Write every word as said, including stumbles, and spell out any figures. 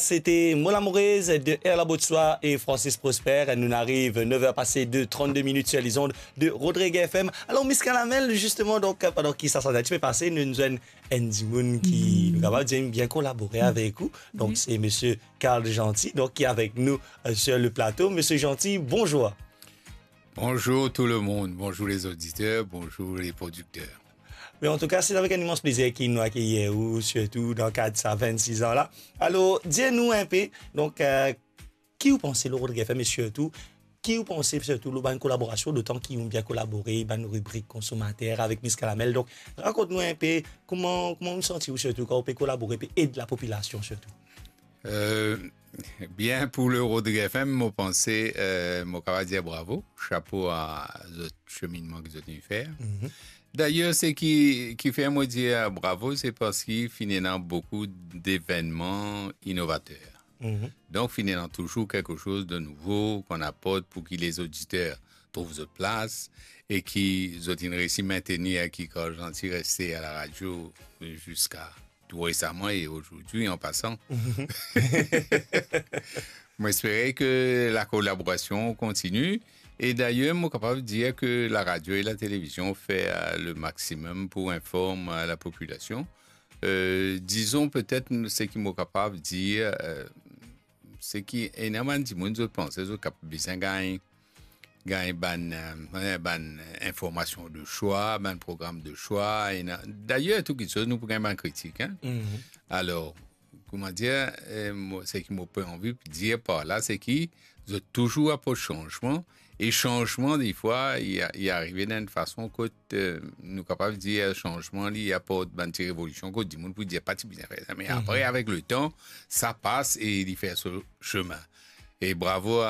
C'était Mola Mourez de Erla Botswa et Francis Prosper. Nous arrive neuf heures passées de trente-deux minutes sur les ondes de Rodrigue F M. Alors, Miss Kalamel, justement, donc, euh, pendant ki sa santi enn tipe pase, nou, nou enn, enn dimoun ki, nou kapav dir, bien collaborer avec vous. Donc, c'est monsieur Carl Gentil, donc, qui est avec nous, euh, sur le plateau. Monsieur Gentil, bonjour. Bonjour tout le monde, bonjour les auditeurs, bonjour les producteurs. Mais en tout cas, c'est avec un immense plaisir ki nou akeyir ou, surtout dans le cadre de ça, vingt-six ans là. Alors, dis-nous un peu, donc, euh, ki ou panse lor Rodrigue F M, e sirtou, ki ou panse sirtou lor bann kolaborasion, dotan ki ou bien kolabore, bann ribrik konsomater avek Miss Kalamel. Donk, rakont nou enpe kouma, kouma ou santi ou sirtou kan ou pe kolabore, pe ed lapopilasion sirtou. Euh, bien, pour le Rodrigue F M, mo panse, euh, mo kapav dir bravo, chapo a zot seminnman ki zot inn fer. Mhm. D'ailleurs, seki, ki fer mo dir bravo, se parski finn ena boukou devennman inovater. Mhm. Donk, finn ena touzour kiksoz de nouvo ki inn aport pou ki lezoditer trouv zot plas e ki zot inn resi mintenir ki Carl Gentil reste a la radio ziska tou resaman e ozordi, an pasan. Mo espere ke la kolaborasion kontini. E dayer, mo kapav dir ke la radio e la televizion fer, euh, le maximum pou inform, euh, lapopilasion. Euh, dizon petet seki mo kapav dir, euh, seki ena bann dimoun zot panse zot kapav bizin gagn, gagn bann, euh, bann informasion de swa, bann program de swa, ena, dayer tou kiksoz nou pou gagn bann kritik, hein. Mhm. Alor, kouma dir, euh, mo, seki mo pe anvi dir par la, seki zot touzour aport sanzman, e sanzman, defwa, li a, li arive dan enn fason kot, euh, nou kapav dir sanzman, li aport bann ti revolision kot dimoun pou dir pa ti bizin fer sa. Me apre, avek letan, sa pas e li fer so semin. E bravo a